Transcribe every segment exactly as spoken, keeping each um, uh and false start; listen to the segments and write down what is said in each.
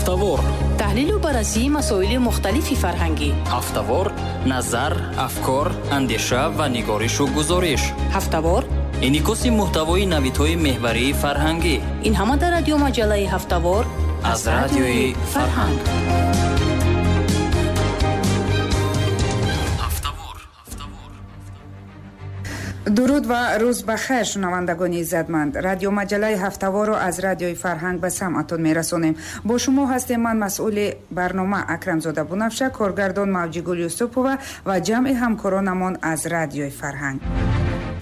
Ҳафтавор: таҳлилу баррасии масоили мухталифи фарҳангӣ. Ҳафтавор: назар, афкор, андеша ва нигаришу гузориш. Ҳафтавор: инъикоси муҳтавои навидҳои меҳварии фарҳангӣ. Ин ҳама дар радиомаҷаллаи Ҳафтавор аз радиои Фарҳанг. Дуруд ва рӯз ба хайр, шунавандагони иззатманд. Радиомаҷаллаи Ҳафтаворро аз радиои Фарҳанг ба самъатон мерасонем. Бо шумо ҳастем ман, масъули барнома Акрамзода Бунафша, коргардон Мавҷигул Юсупова ва ҷамъи ҳамкоронамон аз радиои Фарҳанг.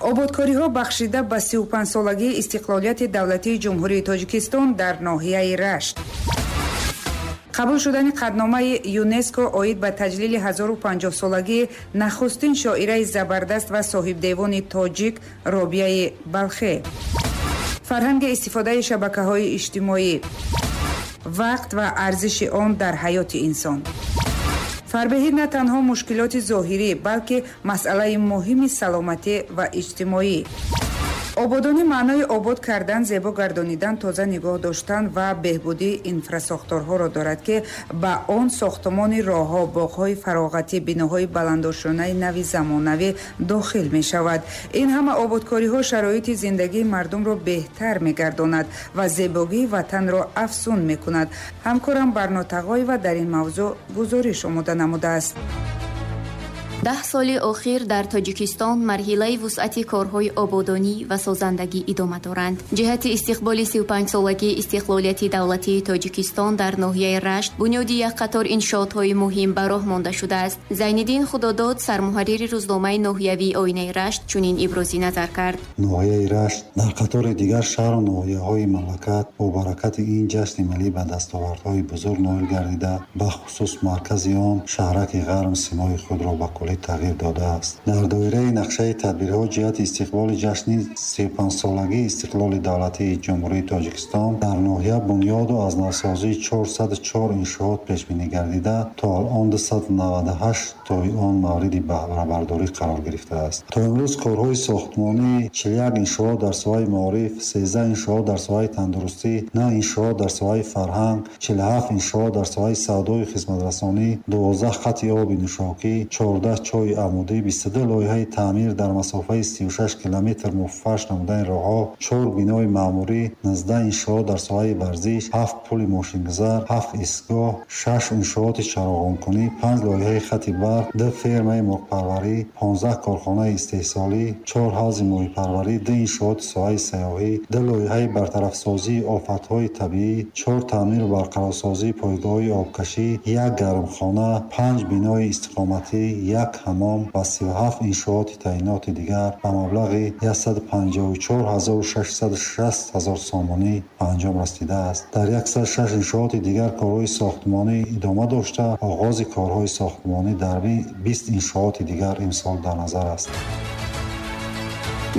Ободкориҳо бахшида ба сию панҷсолагии истиқлолияти давлатии Ҷумҳурии Тоҷикистон дар ноҳияи Рашт. Қабул шудани қатъномаи ЮНЕСКО оид ба таҷлили ҳазору панҷоҳсолагии нахустин шоираи забардаст ва соҳибдевони тоҷик Робияи Балхе. Фарҳанги истифодаи шабакаҳои иҷтимоӣ, вақт ва арзиши он дар ҳаёти инсон. Фарбеҳӣ на танҳо мушкилоти зоҳирӣ, балки масъалаи муҳими саломатӣ ва иҷтимоӣ. Ободонӣ маънои обод кардан, зебо гардонидан, тоза нигоҳ доштан ва беҳбудии инфрасохторҳоро дорад, ки ба он сохтмони роҳҳо, боғҳои фароғатӣ, биноҳои баландошёнаи нави замонавӣ дохил мешавад. Ин ҳама ободкориҳо шароити зиндагии мардумро беҳтар мегардонад ва зебогии ватанро афзун мекунад. Ҳамкорам Барно Тағоева дар ин мавзӯъ гузориш омода намудааст. Даҳ соли охир дар Тоҷикистон марҳилаи вусъати корҳои ободонӣ ва созандагӣ идома доранд. Ҷиҳати истиқболи сию панҷсолагии истиқлолияти давлатии Тоҷикистон дар ноҳияи Рашт бунёди як қатор иншоотҳои муҳим ба роҳ монда шудааст. Зайниддин Худодод, сармуҳаррири рӯзномаи ноҳиявии Оинаи Рашт, чунин ибрози назар кард. Ноҳияи Рашт дар қатори дигар шаҳру ноҳияҳои мамлакат бо баракати ин ҷашни миллӣ ба дастовардҳои бузург ноил гардида, бахусус маркази он шаҳраки Ғарм симои худро ба куллӣ тағйир додааст. Дар доираи нақшаи тадбирҳо ҷиҳати истиқболи ҷашни сию панҷсолагии истиқлоли давлатии Ҷумҳурии Тоҷикистон дар ноҳия бунёду аз навсозии чорсаду чор иншоот пешбинӣ гардида, то алон дусаду наваду ҳашт тои он мавриди баҳрабардорӣ қарор гирифтааст. То имрӯз корҳои сохтмонии чилу як иншоот дар соҳаи маориф, сездаҳ иншоот дар соҳаи тандурустӣ, нӯҳ иншоот дар соҳаи фарҳанг, чилу ҳафт иншоот дар соҳаи савдою хизматрасонӣ, дувоздаҳ хати оби нӯшокӣ, чордаҳ чои амудӣ, бисту ду лоиҳаи таъмир дар масофаи сию шаш километр муфарш намудани роҳҳо, чор бинои маъмурӣ, нуздаҳ иншоот дар соҳаи варзиш, ҳафт пули мошингузар, ҳафт истгоҳ, шаш иншооти чароғонкунӣ, панҷ лоиҳаи хати барқ, ду фермаи мурғпарварӣ, понздаҳ корхонаи истеҳсолӣ, чор ҳавзи моҳипарварӣ, ду иншооти соҳаи сайёҳӣ, ду лоиҳаи бартарафсозии офатҳои табиӣ, чор таъмиру барқарорсозии пойгоҳҳои обкашӣ, як гармхона, панҷ бинои истиқоматӣ, як ҳамом ва сию ҳафт иншооти таъиноти дигар ба маблағи яксаду панҷоҳу чор ҳазору шашсаду шаст ҳазор сомонӣ ба анҷом расидааст. Дар яксаду шаш иншооти дигар корҳои сохтмонӣ идома дошта, оғози корҳои сохтмонӣ дар бист иншооти дигар имсол дар назар аст.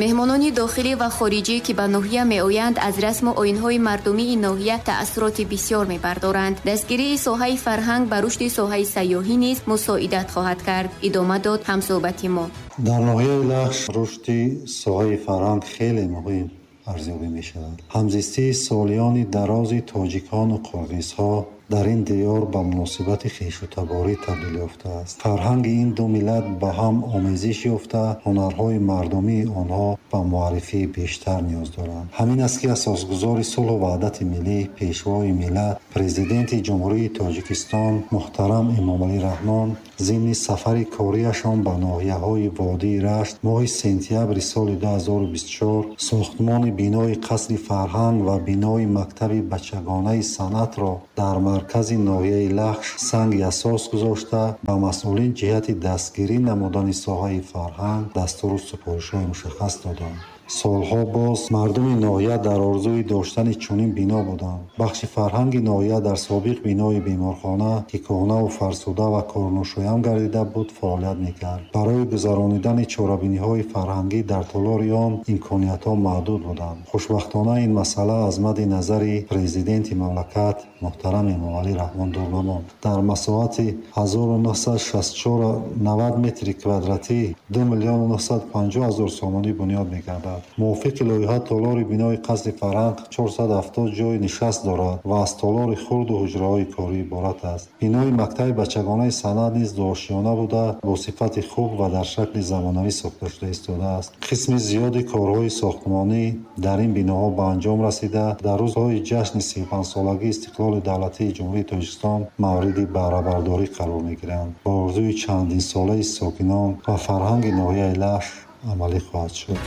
Меҳмонони дохилӣ ва хориҷӣ, ки ба ноҳия меоянд, аз расму оинҳои мардумии ноҳия таассуроти бисёр мебардоранд. Дастгирии соҳаи фарҳанг ба рушди соҳаи сайёҳӣ низ мусоидат хоҳад кард, идома дод ҳамсӯҳбати мо. Дар ноҳияи Лахш рушди соҳаи фарҳанг хеле муҳим арзёбӣ мешавад. Ҳамзистии солиёни дарози тоҷикону қирғизҳо дар ин диёр ба муносибати хешу таборӣ табдил ёфтааст. Фарҳанги ин ду миллат ба ҳам омезиш ёфта, ҳунарҳои мардумии онҳо ба муаррифии бештар ниёз доранд. Ҳамин аст, ки асосгузори сулҳу ваҳдати миллӣ, пешвои миллат, президенти Ҷумҳурии Тоҷикистон муҳтарам Эмомалӣ Раҳмон зимни сафари кориашон ба ноҳияҳои водии Рашт моҳи сентябри соли ду ҳазору бисту чор сохтмони бинои қасри фарҳанг ва бинои мактаби бачагонаи санъатро дар маркази ноҳияи Лахш санги асос гузошта, ба масъулин ҷиҳати дастгирӣ намудани соҳаи фарҳанг дастуру супоришҳои мушаххас доданд. Солҳо боз мардуми ноҳия дар орзуи доштани чунин бино буданд. Бахши фарҳанги ноҳия дар собиқ бинои беморхона, ки кӯҳнаву фарсуда ва корношоям гардида буд, фаъолият мекард. Барои гузаронидани чорабиниҳои фарҳангӣ дар толори он имкониятҳо маҳдуд буданд. Хушбахтона ин масъала аз мадди назари президенти мамлакат муҳтарам Эмомалӣ Раҳмон дур намонд. Дар масоҳати ҳазору нӯҳсаду шасту чор навад метри квадратӣ ду миллиону нӯҳсаду панҷоҳ ҳазор сомонӣ бунёд мегардад. мегардад. Мувофиқи лоиҳа толори бинои қасри фарҳанг чорсаду ҳафтод ҷойи нишаст дорад ва аз толори хурду ҳуҷраҳои корӣ иборат аст. Бинои мактаби бачагонаи санъат низ дуошиёна буда, бо сифати хуб ва дар шакли замонавӣ сохта шуда истодааст. Қисми зиёди корҳои сохтмонӣ дар ин биноҳо ба анҷом расида, дар рӯзҳои ҷашни сию панҷсолагии истиқлоли давлатии Ҷумҳурии Тоҷикистон мавриди баҳрабардорӣ қарор мегиранд. Ба орзуи чандинсолаи сокинон ва фарҳанги ноҳияи Лахш амалӣ хоҳад шуд.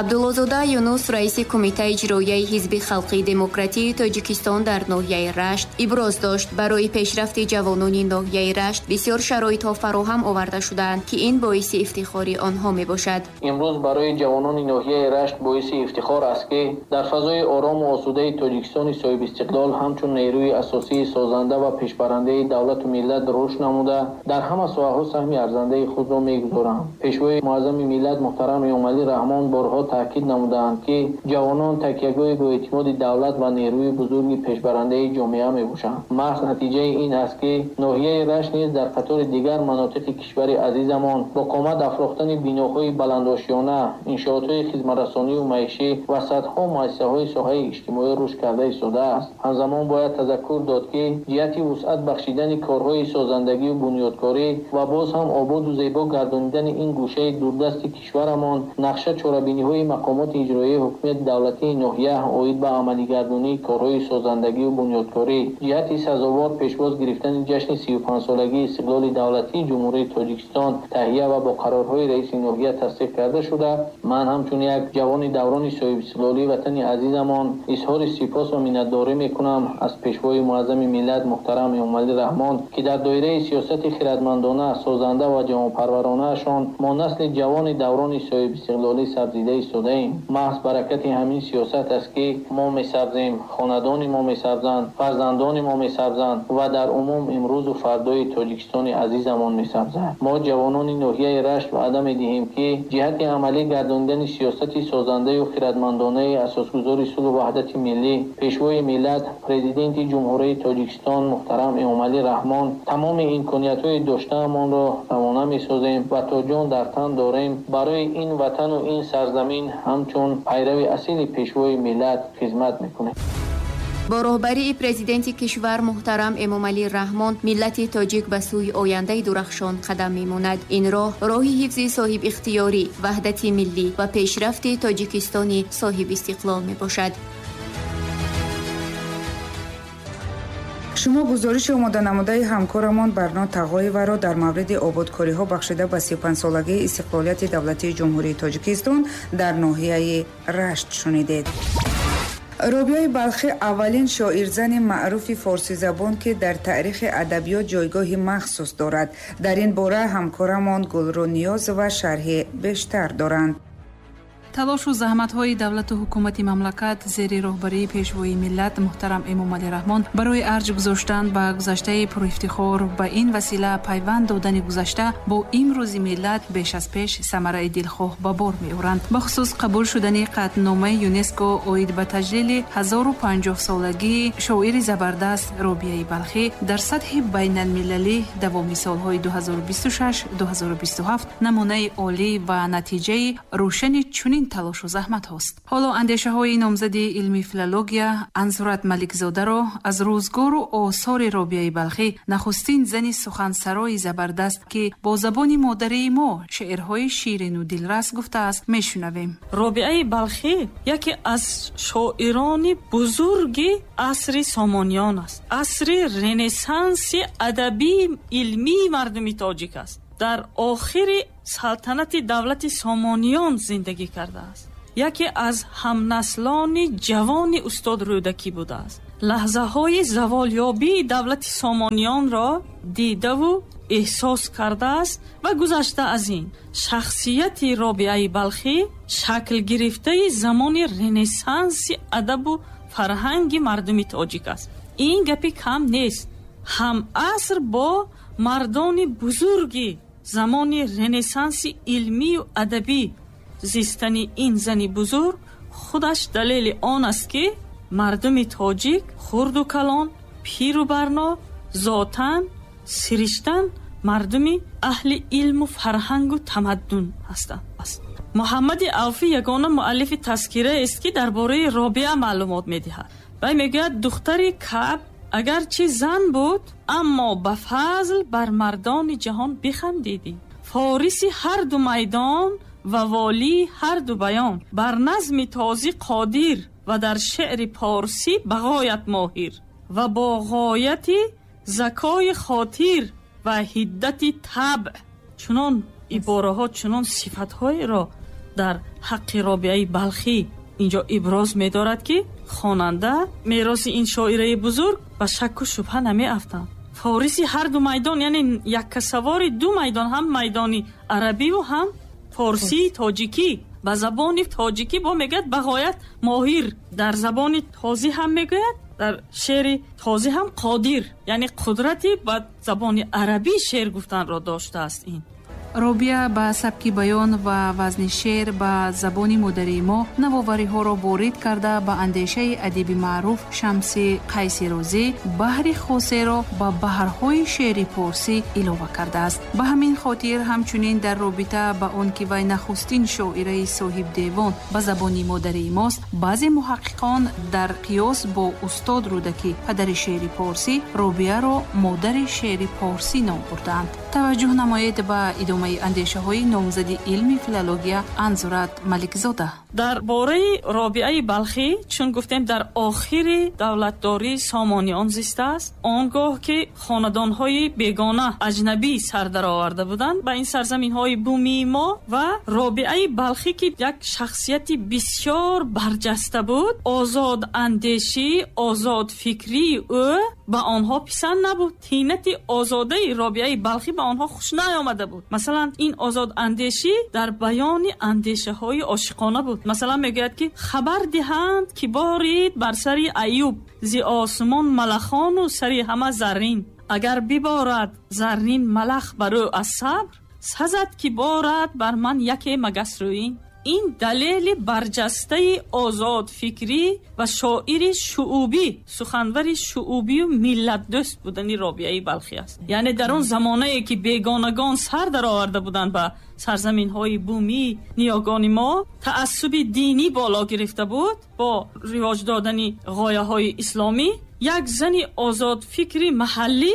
Абдуллозода Юнус, раиси Кумитаи иҷроияи Ҳизби халқии демократии Тоҷикистон дар ноҳияи Рашт, иброз дошт, барои пешрафти ҷавонони ноҳияи Рашт бисёр шароитҳо фароҳам оварда шудаанд, ки ин боиси ифтихори онҳо мебошад. Имрӯз барои ҷавонони ноҳияи Рашт боиси ифтихор аст, ки дар фазои орому осудаи Тоҷикистони соҳибистиқлол ҳамчун нерӯи асосии созанда ва пешбарандаи давлату миллат рушд намуда, дар ҳама соҳаҳо саҳми арзандаи худро мегузоранд. Пешвои муаззами миллат муҳтарам Эмомалӣ Раҳмон борҳо таъкид намудаанд, ки ҷавонон такягоҳи боэътимоди давлат ва нерӯи бузурги пешбарандаи ҷомеа мебошанд. Маҳз натиҷаи ин аст, ки ноҳияи Рашт низ дар қатори дигар манотиқи кишвари азизамон бо қомат афрохтани биноҳои баландошёна, иншоотҳои хизматрасонию маишӣ ва садҳо муассисаҳои соҳаи иҷтимоӣ рушд карда истодааст. Ҳамзамон бояд тазаккур дод, ки ҷиҳати вусъат бахшидани корҳои созандагию бунёдкорӣ ва боз ҳам ободу зебо гардонидани ин гӯшаи дурдасти кишварамон нақша чорабиниҳои мақомоти иҷроияи ҳукумати давлатии ноҳия оид ба амалигардонии корҳои созандагию бунёдкорӣ ҷиҳати сазовор пешвоз гирифтани ҷашни сию панҷсолагии истиқлоли давлатии Ҷумҳурии Тоҷикистон таҳия ва бо қарорҳои раиси ноҳия тасдиқ карда шуда, ман ҳамчун як ҷавони даврони соҳибистиқлолии ватани азизамон изҳори сипос ва миннатдорӣ мекунам аз пешвои муаззами миллат муҳтарам Эмомалӣ Раҳмон, ки дар доираи сиёсати хирадмандона, созанда ва ҷавонпарваронаашон мо насли ҷавони даврони соҳибистиқлолӣ сабзида истодаем. Маҳз баракати ҳамин сиёсат аст, ки мо месабзем, хонадони мо месабзанд, фарзандони мо месабзанд ва дар умум имрӯзу фардои Тоҷикистони азизамон месабзанд. Мо ҷавонони ноҳияи Рашт ваъда медиҳем, ки ҷиҳати амалӣ гардондани сиёсати созандаю хирадмандонаи асосгузори сулҳу ваҳдати миллӣ, пешвои миллат, президенти Ҷумҳурии Тоҷикистон муҳтарам Эмомалӣ Раҳмон тамоми имкониятҳои доштаамонро равона месозем ва то ҷон дар тан дорем барои ин ватану ин сарзамин ҳамчун пайрави асили пешвои миллат хизмат мекунем. Бо роҳбарии президенти кишвар муҳтарам Эмомалӣ Раҳмон миллати тоҷик ба сӯи ояндаи дурахшон қадам мемонад. Ин роҳ роҳи ҳифзи соҳибихтиёрӣ, ваҳдати миллӣ ва пешрафти Тоҷикистони соҳибистиқлол мебошад. Шумо гузориши омоданамудаи ҳамкорамон Барно Тағоеваро дар мавриди ободкориҳо бахшида ба сию панҷсолагии истиқлолияти давлатии Ҷумҳурии Тоҷикистон дар ноҳияи Рашт шунидед. Робиаи Балхӣ аввалин шоирзани маъруфи форсизабон, ки дар таърихи адабиёт ҷойгоҳи махсус дорад. Дар ин бора ҳамкорамон Гулрӯ Ниёзова шарҳи бештар доранд. Талошу заҳматҳои давлату ҳукумати мамлакат зери роҳбарии пешвои миллат муҳтарам Эмомалӣ Раҳмон барои арҷ гузоштан ба гузаштаи пурэфтихор, ба ин васила пайванд додани гузашта бо имрӯзи миллат беш аз пеш самараи дилхоҳ ба бор меоранд. Бахусус қабул шудани қатъномаи ЮНЕСКО оид ба таҷлили ҳазору панҷоҳсолагии шоири забардаст Робиаи Балхӣ дар сатҳи байналмилалӣ давоми солҳои ду ҳазору бисту шаш ду ҳазору бисту ҳафт намунаи олӣ ва натиҷаи рӯшани чунин талошу заҳматҳост. Ҳоло андешаҳои номзади илми филология Ансурат Маликзодаро аз рӯзгору осори Робиаи Балхӣ, нахустин зани сухансарои забардаст, ки бо забони модарии мо шеърҳои ширину дилрас гуфтааст, мешунавем. Робиаи Балхӣ яке аз шоирони бузурги асри Сомониён аст, асри ренессанси адабии илмии мардуми тоҷик аст. Дар охири салтанати давлати Сомониён зиндагӣ кардааст. Яке аз ҳамнаслони ҷавони устод Рӯдакӣ будааст. Лаҳзаҳои заволёбии давлати Сомониёнро дидаву эҳсос кардааст ва гузашта аз ин шахсияти Робиаи Балхӣ шакл гирифтаи замони ренессанси адабу фарҳанги мардуми тоҷик аст. Ин гапи кам нест. Ҳамаср бо мардони бузурги замони ренессанси илмию адабӣ зистани ин зани бузург худаш далели он аст, ки мардуми тоҷик хурду калон, пиру барно, зотан, сириштан мардуми аҳли илму фарҳангу тамаддун ҳастанд. Муҳаммади Авфӣ ягона муаллифи тазкира аст, ки дар бораи Робиа маълумот медиҳад. Вай мегӯяд, духтари Каъб агарчи зан буд, аммо ба фазл бар мардони ҷаҳон бихандидӣ. Фориси ҳар ду майдон ва волии ҳар ду баён, бар назми тозӣ қодир ва дар шеъри порсӣ ба ғоят моҳир ва бо ғояти закои хотир ва ҳиддати табъ. Чунон ибораҳо, чунон сифатҳоеро дар ҳаққи Робиаи Балхӣ инҷо иброз медорад, ки хонанда мероси ин шоираи бузург ба шакку шубҳа намеафтанд. Фориси ҳар ду майдон, яъне яккасавори ду майдон, ҳам майдони арабиву ҳам форсии тоҷикӣ. Ба забони тоҷикӣ бо мегӯяд ба ғоят моҳир, дар забони тозӣ ҳам мегӯяд, дар шеъри тозӣ ҳам қодир, яъне қудрати ба забони арабӣ шеър гуфтанро доштааст. Ин Робиа ба сабки баён ва вазни шеър ба забони модарии мо навовариҳоро ворид карда, ба андешаи адиби маъруф Шамси Қайси Розӣ баҳри хосеро ба баҳрҳои шеъри порсӣ илова кардааст. Ба ҳамин хотир ҳамчунин дар робита ба он ки вай нахустин шоираи соҳибдевон ба забони модарии мост, баъзе муҳаққиқон дар қиёс бо устод Рӯдакӣ, падари шеъри порсӣ, Робиаро модари шеъри порсӣ ном бурдаанд. Таваҷҷӯҳ намоед ба идомаи андешаҳои номзади илми филология Анзурат Маликзода. Дар бораи Робиаи Балхӣ, чун гуфтем, дар охири давлатдории Сомониён зистааст, он гоҳ ки хонадонҳои бегона, аҷнабӣ сар дароварда буданд ба ин сарзаминҳои бумии мо, ва Робиаи Балхӣ ки як шахсияти бисёр барҷаста буд, озодандешӣ, озодфикрии ӯ ба онҳо писанд набуд. Тинати озодаи Робиаи Балхӣ ба онҳо хуш наомада буд. Масалан, ин озодандешӣ дар баёни андешаҳои ошиқона буд. Масалан, мегӯяд ки хабар диҳанд ки борид бар сари Аюб зи осмон малахону сари ҳама заррин. Агар биборад заррин малах бар ӯ аз сабр, сазад ки борад бар ман яке магасрӯин. Ин далели барҷастаи озодфикрӣ ва шоири шуубӣ, суханвари шуубию миллатдӯст будани Робиаи Балхӣ аст. Яъне дар он замонае ки бегонагон сар дароварда буданд ба сарзаминҳои бумии ниёгони мо, таассуби динӣ боло гирифта буд бо ривоҷ додани ғояҳои исломӣ, як зани озодфикри маҳаллӣ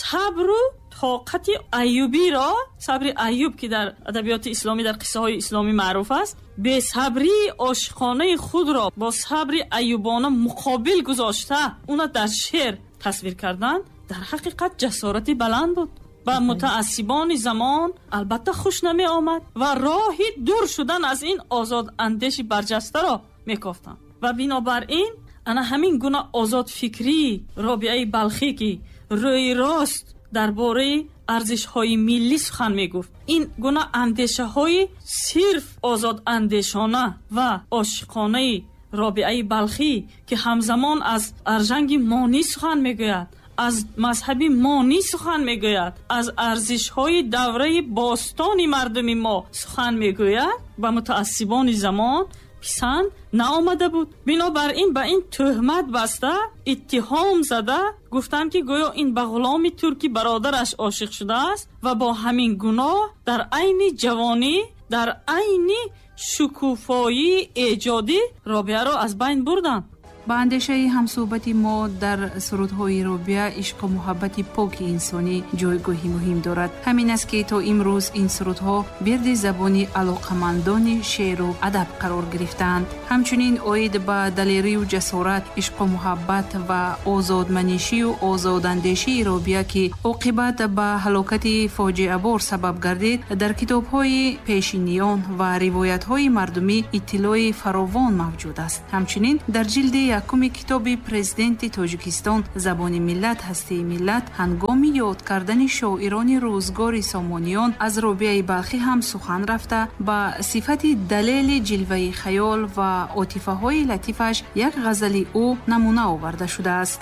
сабру тоқати Аюбиро, сабри Аюб ки дар адабиёти исломӣ, дар қиссаҳои исломӣ маъруф аст, бесабрии ошиқонаи худро бо сабри аюбона муқобил гузошта, уна дар шеър тасвир кардан дар ҳақиқат ҷасорати баланд буд. Ба мутаассибони замон албатта хуш намеомад ва роҳи дур шудан аз ин озодандеши барҷастаро мекофтанд. Ва бинобар ин ана ҳамин гуна озодфикрии Робиаи Балхӣ ки рӯи рост дар бораи арзишҳои миллӣ сухан мегуфт, ин гуна андешаҳои сирф озодандешона ва ошиқонаи Робиаи Балхӣ ки ҳамзамон аз аржанги монӣ сухан мегӯяд, аз мазҳаби монӣ сухан мегӯяд, аз арзишҳои давраи бостони мардуми мо сухан мегӯяд, ба мутаассибони замон писанд наомада буд. Бинобар ин ба ин тӯҳмат баста, иттиҳом зада гуфтанд ки гӯё ин ба ғуломи турки бародараш ошиқ шудааст ва бо ҳамин гуноҳ дар айни ҷавонӣ, дар айни шукуфоии эҷодӣ Робиаро аз байн бурданд. Ба андешаи ҳамсӯҳбати мо дар сурудҳои Робиа ишқу муҳаббати поки инсонӣ ҷойгоҳи муҳим дорад. Ҳамин аст ки то имрӯз ин сурудҳо вирди забони алоқамандони шеъру адаб қарор гирифтаанд. Ҳамчунин оид ба далерию ҷасорат, ишқу муҳаббат ва озодманишию озодандешии Робиа ки оқибат ба ҳалокати фоҷиабор сабаб гардид, дар китобҳои пешиниён ва ривоятҳои мардумӣ иттилои фаровон мавҷуд аст. Ҳамчунин дар ҷилди якуми китоби президенти Тоҷикистон «Забони миллат, ҳастии миллат» ҳангоми ёд кардани шоирони рӯзгори Сомониён аз Робиаи Балхӣ ҳам сухан рафта, ба сифати далели ҷилваи хаёл ва отифаҳои латифаш як ғазали ӯ намуна оварда шудааст.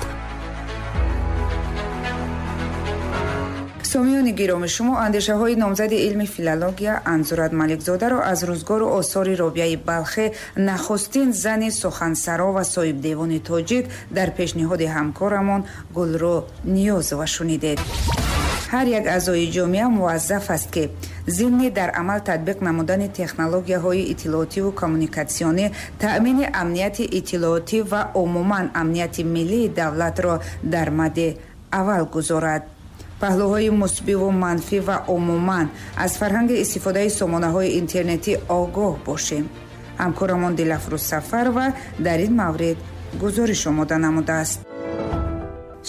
Сомиёни гиромӣ, шумо андешаҳои номзади илми филология Анзурат Маликзодаро аз рӯзгору осори Робиаи Балхӣ, нахустин зани сухансаро ва соҳибдевони тоҷик, дар пешниҳоди ҳамкорамон Гулрӯ Ниёзова шунидед. Ҳар як аъзои ҷомеа муваззаф аст, ки зимни дар амал татбиқ намудани технологияҳои иттилоотиву коммуникатсионӣ таъмини амнияти иттилоотӣ ва умуман амнияти миллии давлатро дар мадди аввал гузорад. Паҳлӯҳои мусбиву манфӣ ва умуман аз фарҳанги истифодаи сомонаҳои интернетӣ огоҳ бошем. Ҳамкорамон Дилафрӯз Сафарова дар ин маврид гузориш омода намудааст.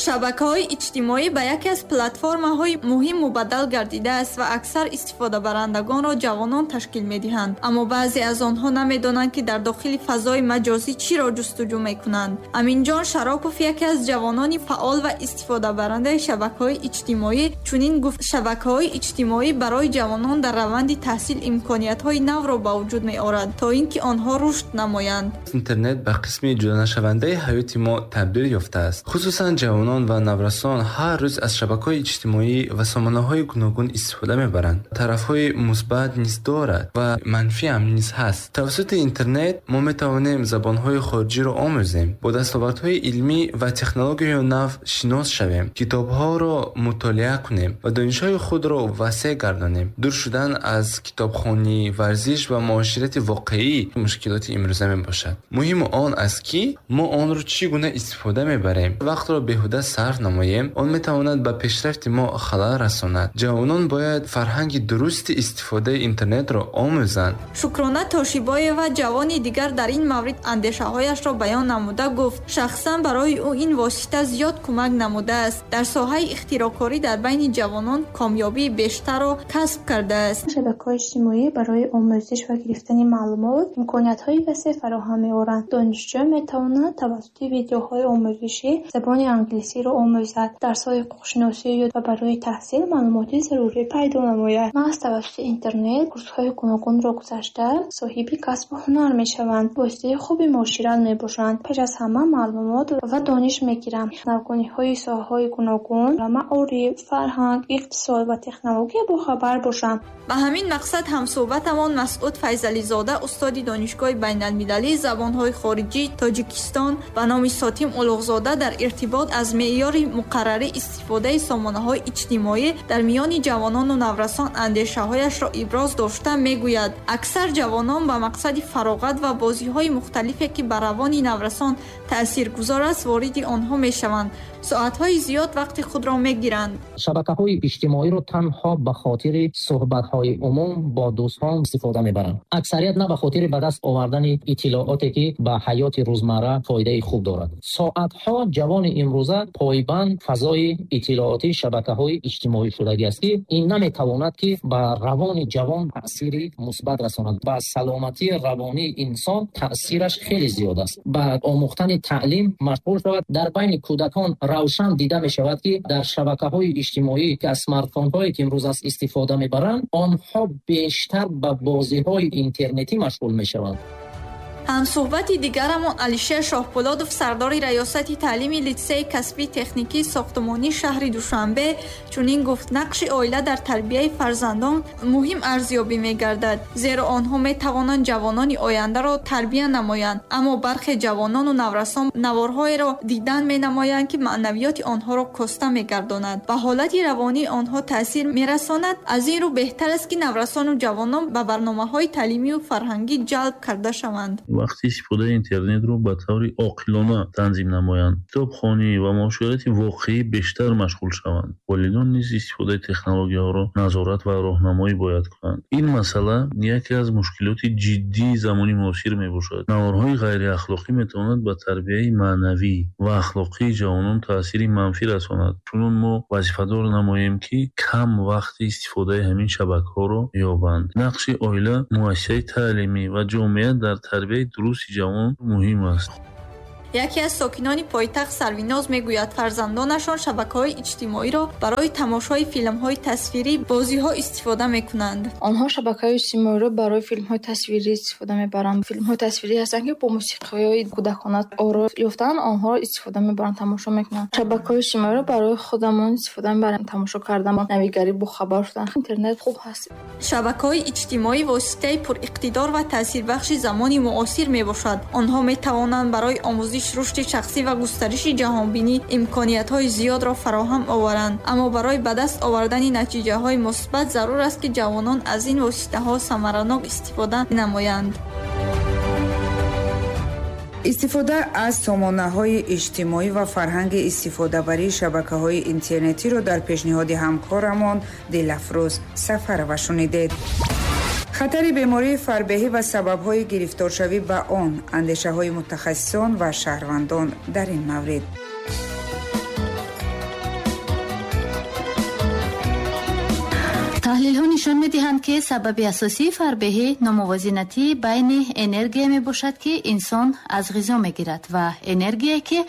Шабакаҳои иҷтимоӣ ба яке аз платформаҳои муҳим мубаддал гардидааст ва аксар истифодабарандагонро ҷавонон ташкил медиҳанд. Аммо баъзе аз онҳо намедонанд, ки дар дохили фазои маҷозӣ чиро ҷустуҷӯ мекунанд. Аминҷон Шаропов, яке аз ҷавонони фаъол ва истифодабарандаи шабакаҳои иҷтимоӣ, чунин гуфт: шабакаҳои иҷтимоӣ барои ҷавонон дар раванди таҳсил имкониятҳои навро ба вуҷуд меорад, то ин ки онҳо рушд намоянд. Интернет ба қисми ҷудонашавандаи ҳаёти мо табдил ёфтааст. Хусусан ҷавонон ва наврасон ҳар рӯз аз шабакаҳои иҷтимоӣ ва сомонаҳои гуногун истифода мебаранд. Тарафҳои мусбат низ дорад ва манфӣ ҳам низ ҳаст. Тавассути интернет мо метавонем забонҳои хориҷиро омӯзем, бо дастовардҳои илмӣ ва технологияи нав шинос шавем, китобҳоро мутолиа кунем ва донишҳои худро васеъ гардонем. Дур шудан аз китобхонӣ, варзиш ва муоширати воқеӣ мушкилоти имрӯза мебошад. Муҳим он аст, ки мо онро чӣ гуна истифода мебарем. Вақтро беҳуда сарф намоем, он метавонад ба пешрафти мо халал расонад. Ҷавонон бояд фарҳанги дурусти истифодаи интернетро омӯзанд. Шукрона Тошибоева, ҷавони дигар, дар ин маврид андешаҳояшро баён намуда гуфт: шахсан барои ӯ ин восита зиёд кӯмак намудааст. Дар соҳаи ихтироъкорӣ дар байни ҷавонон комёбии бештарро касб кардааст. Шабакаҳои иҷтимоӣ барои омӯзиш ва гирифтани маълумот имкониятҳои васеъ фароҳам меоранд. Донишҷӯ метавонад тавассути видеоҳои омӯзишӣ забони англисиро омӯзад, дарсҳои ҳуқуқшиносӣ ва барои таҳсил маълумоти зарурӣ пайдо намояд. Маҳз тавассути интернет курсҳои гуногунро гузашта соҳиби касбу ҳунар мешаванд, воситаи хуби муошират мебошанд. Пеш аз ҳама маълумот ва дониш мегиранд. Навгониҳои соҳаҳои гуногун ва маориф, фарҳанг, иқтисод ва технология бохабар бошанд. Ба ҳамин мақсад ҳамсӯҳбатамон Масъуд Файзализода, устоди Донишгоҳи байналмилалии забонҳои хориҷии Тоҷикистон ба номи Сотим Улуғзода, дар иртибот аз меъёри муқаррарӣ истифодаи сомонаҳои иҷтимоӣ дар миёни ҷавонону наврасон андешаҳояшро иброз дошта мегӯяд: аксар ҷавонон ба мақсади фароғат ва бозиҳои мухталифе, ки ба равони наврасон таъсиргузор аст, вориди онҳо мешаванд. Соатҳои зиёд вақти худро мегиранд. Шабакаҳои иҷтимоиро танҳо ба хотири суҳбатҳои умум бо дӯстон истифода мебаранд. Аксарият на ба хотири ба даст овардани иттилооте, ки ба ҳаёти рӯзмарра фоидаи хуб дорад. Соатҳо ҷавони имрӯза пойбанд фазои иттилоотии шабакаҳои иҷтимоӣ шудагӣ аст, ки ин наметавонад, ки ба равони ҷавон таъсири мусбат расонад. Ба саломатии равонии инсон таъсираш хеле зиёд аст. Ба омӯхтани таълим машғул шавад. Дар байни кӯдакон равшан дида мешавад, ки дар шабакаҳои иҷтимоӣ, ки аз смартфонҳое ки имрӯз аст истифода мебаранд, онҳо бештар ба бозиҳои интернетӣ машғул мешаванд. Ҳамсӯҳбати дигарамон Алишер Шоҳпулодов, сардори раёсати таълими литсейи касбии техникии сохтмонии шаҳри Душанбе, чунин гуфт: нақши оила дар тарбияи фарзандон муҳим арзёбӣ мегардад, зеро онҳо метавонанд ҷавонони ояндаро тарбия намоянд. Аммо бархе ҷавонону наврасон наворҳоеро дидан менамоянд, ки маънавиёти онҳоро коста мегардонад, ба ҳолати равонии онҳо таъсир мерасонад. Аз ин рӯ беҳтар аст, ки наврасону ҷавонон ба барномаҳои таълимию фарҳангӣ ҷалб карда шаванд. Вақти истифодаи интернетро ба таври оқилона танзим намоянд, китобхонӣ ва муоширати воқеӣ бештар машғул шаванд. Волидон низ истифодаи технологияҳоро назорат ва роҳнамоӣ бояд кунанд. Ин масъала яке аз мушкилоти ҷиддии замони муосир мебошад. Наворҳои ғайриахлоқӣ метавонад ба тарбияи маънавӣ ва ахлоқии ҷавонон таъсири манфӣ расонад. Чунон мо вазифадор намоем, ки кам вақти истифодаи ҳамин шабакаҳоро ёбанд. Нақши оила, муассисаи таълимӣ ва ҷомеа дар тарбияи дурусти ҷавон муҳим аст. Яке аз сокинони пойтахт Сарвиноз мегӯяд, фарзандонашон шабакаҳои иҷтимоиро барои тамошои филмҳои тасвирӣ, бозиҳо истифода мекунанд. Онҳо шабакаҳои иҷтимоиро барои филмҳои тасвирӣ истифода мебаранд. Филмҳои тасвирӣ ҳастанд, ки бо мусиқиҳои кӯдакона оро ёфтан, онҳоро истифода мебаранд, тамошо мекунанд. Шабакаҳои иҷтимоиро барои худамон истифода мебарем, тамошо кардан, навигарӣ, бохабар шудан. Интернет хуб ҳаст. Шабакаҳои иҷтимоӣ воситаи пуриқтидор ва таъсирбахши замони муосир мебошад. Онҳо метавонанд барои омӯзиш омӯзиш, рушди шахсӣ ва густариши ҷаҳонбинӣ имкониятҳои зиёдро фароҳам оваранд. Аммо барои ба даст овардани натиҷаҳои мусбат зарур аст, ки ҷавонон аз ин воситаҳо самаранок истифода намоянд. Истифода аз сомонаҳои иҷтимоӣ ва фарҳанги истифодабарии шабакаҳои интернетиро дар пешниҳоди ҳамкорамон Дилафрӯз Сафарова шунидед. Хатари бемории фарбеҳӣ ва сабабҳои гирифторшавӣ ба он, андешаҳои мутахассисон ва шаҳрвандон дар ин маврид. Таҳлилҳо нишон медиҳанд, ки сабаби асосии фарбеҳӣ номувозинатии байни энергия мебошад, ки инсон аз ғизо мегирад, ва энергие, ки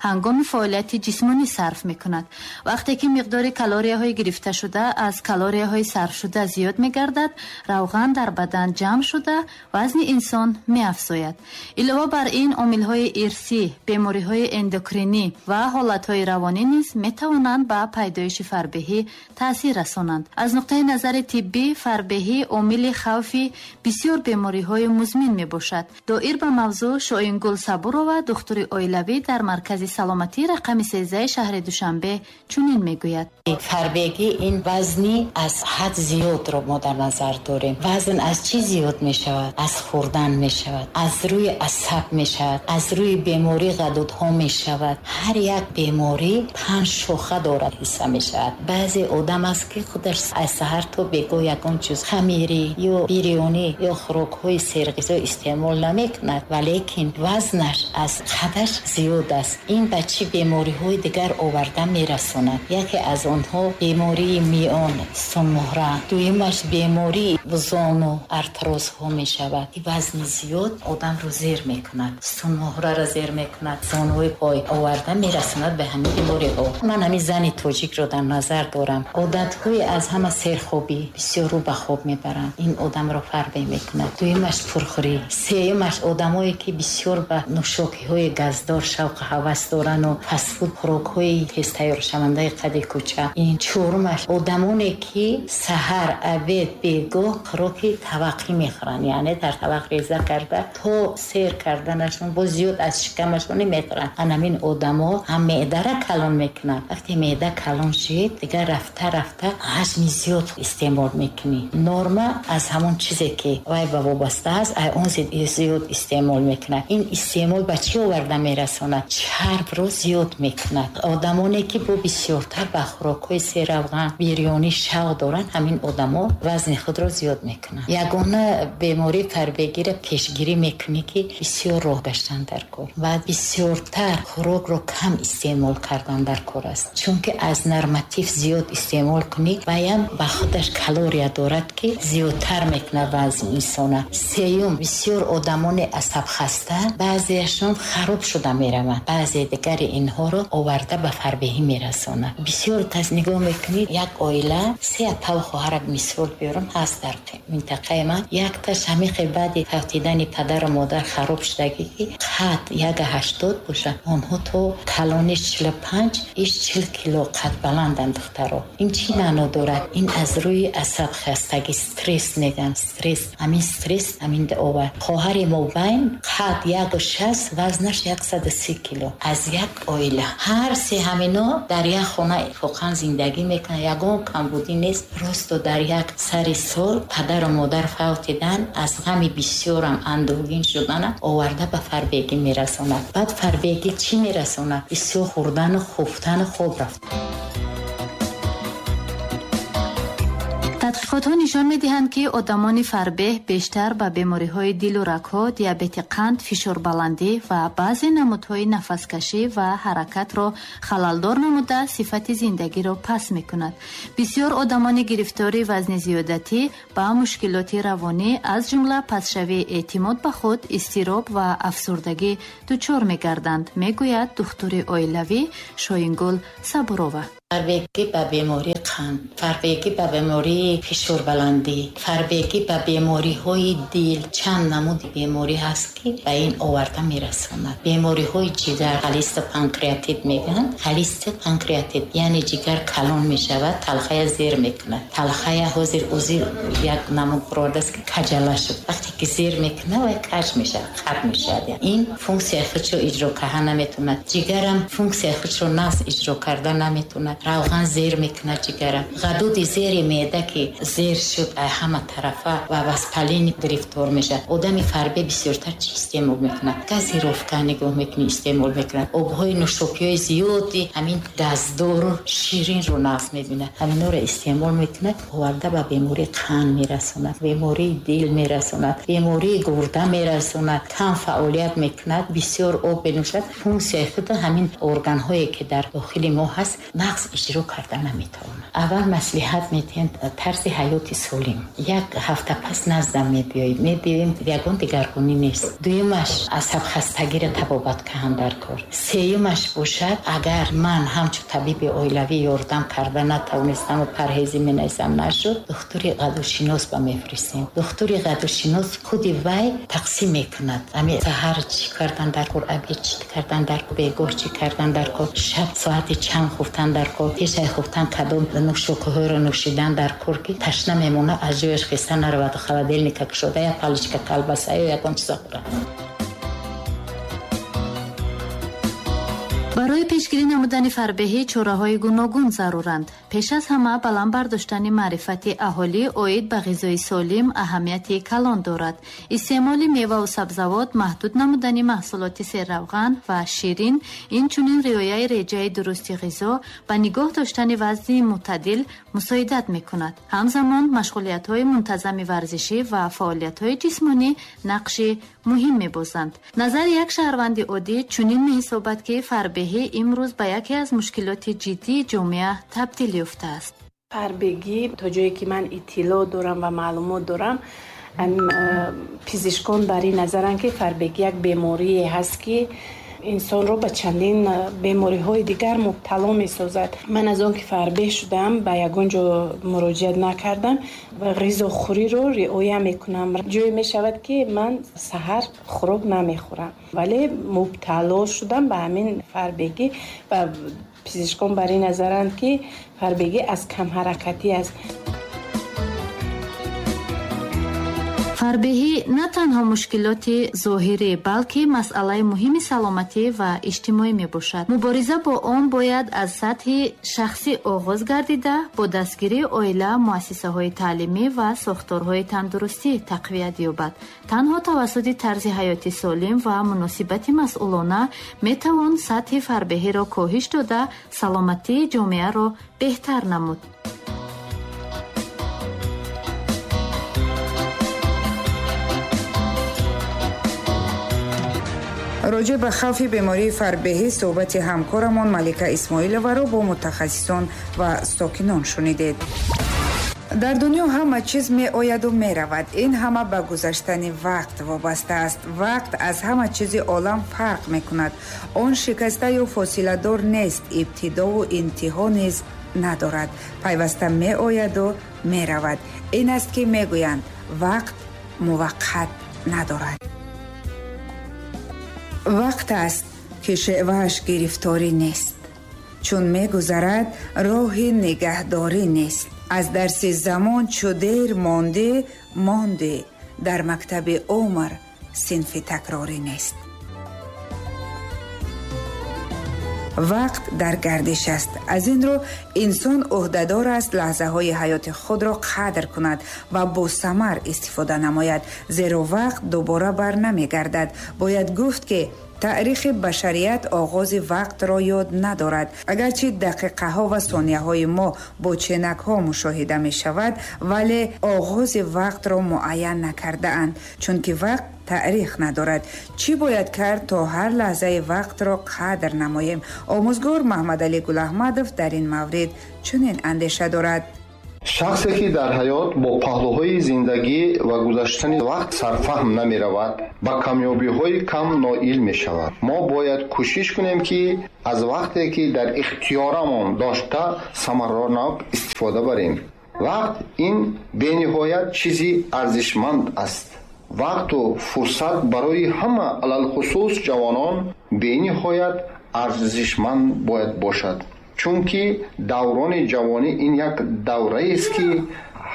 ҳангоми фаъолияти ҷисмонӣ сарф мекунад. Вақте ки миқдори калорияҳои гирифташуда аз калорияҳои сарфшуда зиёд мегардад, равған дар бадан ҷамъ шуда, вазни инсон меафзояд. Илова бар ин, омилҳои ирсӣ, бемориҳои эндокринӣ ва ҳолатҳои равонӣ низ метавонанд ба пайдоиши фарбеҳӣ таъсир расонанд. Аз нуқтаи назари тиббӣ, фарбеҳӣ омили хавфи бисёр бемориҳои музмин мебошад. Доир ба мавзӯъ Шоингул Сабурова, духтури оилавӣ дар маркази саломатӣ рақами сездаҳи шаҳри Душанбе, чунин мегӯяд. Фарбегӣ ин вазни аз ҳад зиёдро мо дар назар дорем. Вазн аз чӣ зиёд мешавад? Аз хӯрдан мешавад, аз рӯи асаб мешавад, аз рӯи бемории ғадудҳо мешавад. Ҳар як беморӣ панҷ шоха дорад, ҳисса мешавад. Баъзе одам аст, ки худаш аз саҳар то бегоҳ ягон чиз хамирӣ ё бирёнӣ ё хӯрокҳои серғизо истеъмол намекунад, валекин вазнаш аз қадаш зиёд аст. Ин ба чӣ бемориҳои дигар оварда мерасонад? Яке аз онҳо бемории миён, сунмуҳра, дуюмаш бемории зону, артрозҳо мешавад. Вазни зиёд одамро зер мекунад, сунмуҳраро зер мекунад, зонуи пой оварда мерасонад ба ҳамин бемориҳо. Ман ҳамин зани тоҷикро дар назар дорам. Одатҳои аз ҳама серхобӣ, бисёр рӯ ба хоб мебаранд, ин одамро фарбе мекунад. Дуюмаш пурхӯрӣ, сеюмаш одамое ки бисёр ба нӯшокиҳои газдор шавқу ҳавас дорану фастфуд, хӯрокҳои тезтайёршавандаи қади кӯча. Ин чорумаш одамоне ки саҳар, обед, бегоҳ хӯроки таваққӣ мехӯранд, яъне дар тавақ реза карда то сер карданашон боз зиёд аз шикамашон мехӯранд. Ҳамин одамо ҳам меъдара калон мекунанд. Вақте меъда калон шид, дигар рафта рафта ҳаҷми зиёд истеъмол мекунӣ. Норма аз ҳамон чизе ки вай ба вобаста аст, ай он зиёд истеъмол мекунад. Ин истеъмол ба чӣ оварда мерасонад? Чарбро зиёд мекунад. Одамоне ки бо бисёртар ба хӯрокҳои серравған, бирёнӣ шавқ доранд, ҳамин одамо вазни худро зиёд мекунанд. Ягона бемории фарбегиро пешгирӣ мекунӣ, ки бисёр роҳ гаштан дар кор ва бисёртар хӯрокро кам истеъмол кардан дар кор аст. Чунки аз норматив зиёд истеъмол кунӣ, ваям ба худаш калория дорад, ки зиёдтар мекунад вазни инсона. Сеюм, бисёр одамони асабхаста баъзеашон хароб шуда мераванд, баъзе дигари инҳоро оварда ба фарбеҳӣ мерасонад. Бисёр кас нигоҳ мекунӣ, як оила се апав хоҳара мисол биёрам ҳаст дар минтақаи ман, якташ ҳамихе баъди фавтидани падару модар хароб шудагӣ, ки қад як ҳаштод бошад, онҳо то калони чилу панҷ иш чил кило қад баланданд духтаро. Ин чӣ маъно дорад? Ин аз рӯи асабхастагӣ, стресс мегӯянд, стресс. Ҳамин стресс ҳамин овард. Хоҳари мобайн қад як шаст, вазнаш яксаду си кило. Аз як оила ҳар се ҳамино дар як хона иттифоқан зиндагӣ мекунанд, ягон камбудӣ нест. Просто дар як сари сол падару модар фавтидан, аз ғами бисёрам андӯҳгин шуданам оварда ба фарбегӣ мерасонад. Баъд фарбегӣ чӣ мерасонад? Бисёр хӯрдану хуфтану хоб рафт. Тадқиқотҳо нишон медиҳанд, ки одамони фарбеҳ бештар ба бемориҳои дилу рагҳо, диабети қанд, фишорбаландӣ ва баъзе намудҳои нафаскашӣ ва ҳаракатро халалдор намуда сифати зиндагиро паст мекунад. Бисёр одамони гирифтори вазни зиёдатӣ ба мушкилоти равонӣ, аз ҷумла пастшавии эътимод ба худ, изтироб ва афсурдагӣ дучор мегарданд, мегӯяд духтури оилавӣ Шоингул Сабурова. Фарбегӣ ба бемории қанд, фарбегӣ ба бемории фишорбаландӣ, фарбегӣ ба бемориҳои дил, чанд намуди беморӣ ҳаст, ки ба ин оварда мерасонад. Бемориҳои ҷигар, холестопанкреатит мегӯянд. Холестопанкреатит яъне ҷигар калон мешавад, талхая зер мекунад. Талхая ҳозир ӯзи як намуд бурдааст, ки каҷала шуд. Вақте ки зер мекунад, вай каҷ мешавад, хат мешавад. Ин функсияи худро иҷро карда наметавонад. Ҷигарам функсияи худро нағз иҷро карда наметавонад. Равған зер мекунад ҷигарам. Ғадуди зери меъда ки зер шуд, ҳама тарафа ва васпалин гирифтор мешавад. Одами фарбе бисёртар чӣ истеъмол мекунад? Газировка нигоҳ мекунӣ, истеъмол мекунад. Обҳои нӯшокиҳои зиёди ҳамин газдору ширинро нағз мебинад. Ҳаминҳоро истеъмол мекунад, оварда ба бемории қанд мерасонад, бемории дил мерасонад, бемории гурда мерасонад. Кам фаъолият мекунад, бисёр об менӯшад. Функсияи худ ҳамин органҳое ки дар дохили мо ҳаст, нағз иҷро карда наметавонад. Аввал маслиҳат медиҳем тарзи ҳаёти солим. Як ҳафта пас наздам мебиёем, мебиёем, ягон дигаргунӣ нест. Дуюмаш асабхастагиро табобат кунам дар кор. Сеюмаш бошад, агар ман ҳамчун табиби оилавӣ ёрдам карда натавонистам ва парҳезӣ менависам нашуд, духтури ғадудшинос ба мефиристем. Духтури ғадудшинос худи вай тақсим мекунад. Ами саҳар чӣ кардан дар кор, обед чӣ кардан дар кор, бегоҳ чӣ кардан дар кор, шаб соати чанд хуфтан дар кор, пешай хуфтан кадом нӯшокиҳоро нӯшидан дар кор, ки ташна мемонад, аз ҷояш хеста наравад, холодильника кушода, як палочка колбаса ё ягон чиза хӯрад. Барои пешгирӣ намудани фарбеҳӣ чораҳои гуногун заруранд. Пеш аз ҳама баланд бардоштани маърифати аҳолӣ оид ба ғизои солим аҳамияти калон дорад. Истеъмоли меваву сабзавот, маҳдуд намудани маҳсулоти серравған ва ширин, инчунин риояи реҷаи дурусти ғизо ба нигоҳ доштани вазни мӯътадил мусоидат мекунад. Ҳамзамон машғулиятҳои мунтазами варзишӣ ва фаъолиятҳои ҷисмонӣ нақши муҳим мебозанд. Назари як шаҳрванди оддӣ чунин меҳисобад, ки фарбеҳӣ имрӯз ба яке аз мушкилоти ҷиддии ҷомеа табдил ёфтааст. Фарбегӣ то ҷое ки ман иттилоъ дорам ва маълумот дорам, пизишкон бар ин назаранд, ки фарбегӣ як беморие ҳаст, ки инсонро ба чандин бемориҳои дигар мубтало месозад. Ман аз он ки фарбеҳ шудам, ба ягон ҷо муроҷиат накардам ва ғизохӯриро риоя мекунам. Ҷое мешавад, ки ман саҳар хӯрок намехӯрам, вале мубтало шудам ба ҳамин фарбегӣ ва пизишкон бар ин назаранд, ки фарбегӣ аз камҳаракатӣ аст. Фарбеҳӣ на танҳо мушкилоти зоҳирӣ, балки масъалаи муҳими саломатӣ ва иҷтимоӣ мебошад. Мубориза бо он бояд аз сатҳи шахсӣ оғоз гардида, бо дастгирии оила, муассисаҳои таълимӣ ва сохторҳои тандурустӣ тақвият ёбад. Танҳо тавассути тарзи ҳаёти солим ва муносибати масъулона метавон сатҳи фарбеҳиро коҳиш дода, саломатии ҷомеаро беҳтар намуд. Роҷеъ ба хавфи бемории фарбеҳӣ суҳбати ҳамкорамон Малика Исмоиловаро бо мутахассисон ва сокинон шунидед. Дар дунё ҳама чиз меояду меравад. Ин ҳама ба гузаштани вақт вобаста аст. Вақт аз ҳама чизи олам фарқ мекунад. Он шикаста ё фосиладор нест, ибтидову интиҳо низ надорад. Пайваста меояду меравад. Ин аст ки мегӯянд, вақт муваққат надорад. Вақт аст, ки шевааш гирифторӣ нест. Чун мегузарад, роҳи нигаҳдорӣ нест. Аз дарси замон чу дер мондӣ, мондӣ. Дар мактаби умр синфи такрорӣ нест. Вақт дар гардиш аст. Аз ин рӯ инсон ӯҳдадор аст лаҳзаҳои ҳаёти худро қадр кунад ва бо самар истифода намояд, зеро вақт дубора бар намегардад. Бояд гуфт, ки таърихи башарият оғози вақтро ёд надорад. Агарчи дақиқаҳо ва сонияҳои мо бо ченакҳо мушоҳида мешавад, вале оғози вақтро муайян накардаанд, чунки вақт таърих надорад. Чӣ бояд кард то ҳар лаҳзаи вақтро қадр намоем? Омӯзгор Маҳмадалӣ Гулаҳмадов дар ин маврид чунин андеша дорад. Шахсе ки дар ҳаёт бо паҳлӯҳои зиндагӣ ва гузаштани вақт сарфаҳм намеравад, ба камёбиҳои кам ноил мешавад. Мо бояд кӯшиш кунем, ки аз вақте ки дар ихтиёрамон дошта самаранок истифода барем. Вақт ин бениҳоят чизи арзишманд аст. Вақту фурсат барои ҳама, алалхусус ҷавонон, бениҳоят арзишманд бояд бошад. Чунки даврони ҷавонӣ ин як давраест, ки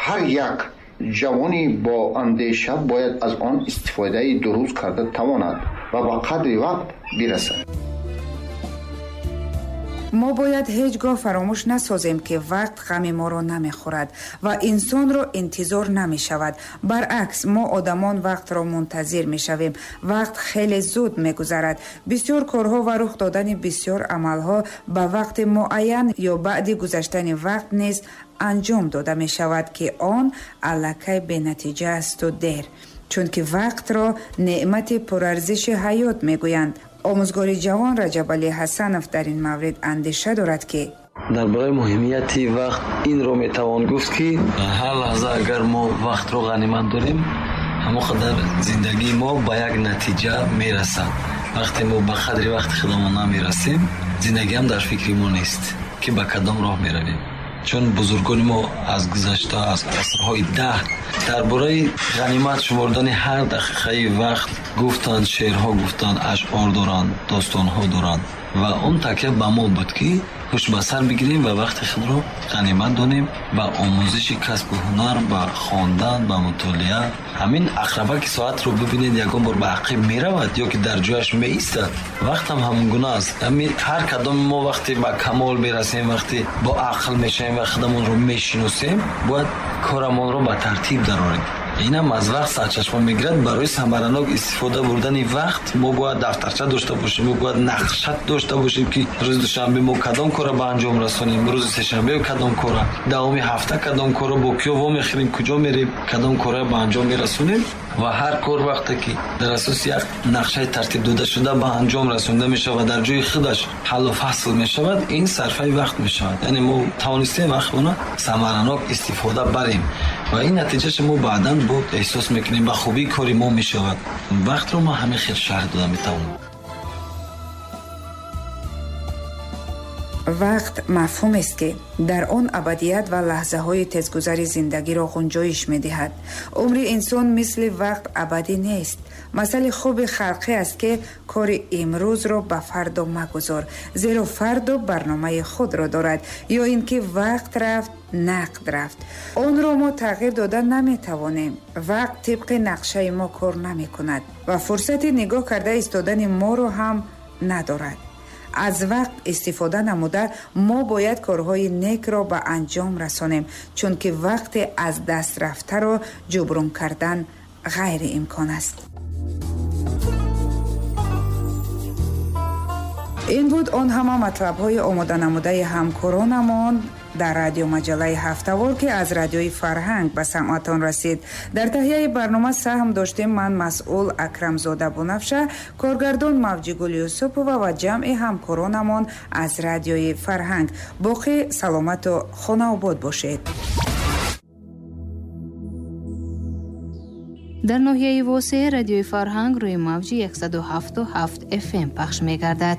ҳар як ҷавони бо андеша бояд аз он истифодаи дуруст карда тавонад ва ба қадри вақт бирасад. Мо бояд ҳеҷ гоҳ фаромӯш насозем, ки вақт ғами моро намехӯрад ва инсонро интизор намешавад. Баръакс, мо одамон вақтро мунтазир мешавем. Вақт хеле зуд мегузарад. Бисёр корҳо ва рух додани бисёр амалҳо ба вақти муайян ё баъди гузаштани вақт низ анҷом дода мешавад, ки он аллакай бенатиҷа асту дер. Чунки вақтро неъмати пурарзиши ҳаёт мегӯянд. Омӯзгори ҷавон Раҷабалӣ Ҳасанов дар ин маврид андеша дорад, ки дар бораи муҳимияти вақт инро метавон гуфт, ки ҳар лаҳза агар мо вақтро ғанимат дорем, ҳамон қадар зиндагии мо ба як натиҷа мерасад. Вақте мо ба қадри вақти худамон намерасем, зиндагиам дар фикри мо нест, ки ба кадом роҳ меравем. Чун бузургони мо аз гузашта, аз асрҳои даҳ дар бораи ғанимат шумордани ҳар дақиқаи вақт гуфтанд, шеърҳо гуфтанд, ашъор доранд, достонҳо доранд ва он такя ба мо буд, ки ҳуш ба сар бигирем ва вақти худро ғанимат донем ба омӯзиши касбу ҳунар, ба хондан, ба мутолиа. Ҳамин ақрабаки соатро бибинед, ягон бор ба ақиб меравад ё ки дар ҷояш меистад. Вақтам ҳамон гуна аст. Ҳамин ҳар кадоми мо вақте ба камол мерасем, вақте бо ақл мешавем ва худамонро мешиносем, бояд корамонро ба тартиб дарорем. Инам аз вақт сарчашма мегирад. Барои самаранок истифода бурдани вақт мо бояд дафтарча дошта бошем, мо бояд нақша дошта бошем, ки рӯзи душанбе мо кадом корро ба анҷом расонем, рӯзи сешанбе кадом корро, давоми ҳафта кадом корро, бо киё вомехӯрем, куҷо мерем, кадом корро ба анҷом мерасонем. Ва ҳар кор вақте ки дар асоси як нақшаи тартиб дода шуда ба анҷом расонда мешавад ва дар ҷои худаш ҳаллу фасл мешавад, ин сарфаи вақт мешавад. Яъне мо тавонистем вақтро самаранок истифода барем ва ин натиҷааш мо баъдан бо эҳсос мекунем, ба хубии кори мо мешавад. Вақтро мо ҳамин хел шарҳ дода метавонем. Вақт мафҳумест, ки дар он абадият ва лаҳзаҳои тезгузари зиндагиро ғунҷоиш медиҳад. Умри инсон мисли вақт абадӣ нест. Масъали хуби халқӣ аст, ки кори имрӯзро ба фардо магузор, зеро фардо барномаи худро дорад, ё ин ки вақт рафт, нақд рафт. Онро мо тағйир дода наметавонем. Вақт тибқи нақшаи мо кор намекунад ва фурсати нигоҳ карда истодани моро ҳам надорад. Аз вақт истифода намуда мо бояд корҳои некро ба анҷом расонем, чунки вақте аз даст рафтаро ҷуброн кардан ғайриимкон аст. Ин буд он ҳама матлабҳои омоданамудаи ҳамкоронамон дар радиомаҷаллаи ҳафтавор, ки аз радиои фарҳанг ба самъатон расид. Дар таҳияи барнома саҳм доштем ман, масъул Акрамзода Бунафша, коргардон Мавҷигул Юсупова ва ҷамъи ҳамкоронамон аз радиои фарҳанг. Боқӣ саломату хонаобод бошед. Дар ноҳияи Восеъ радиои фарҳанг рӯи мавҷи яксаду ҳафту ҳафт эф эм пахш мегардад.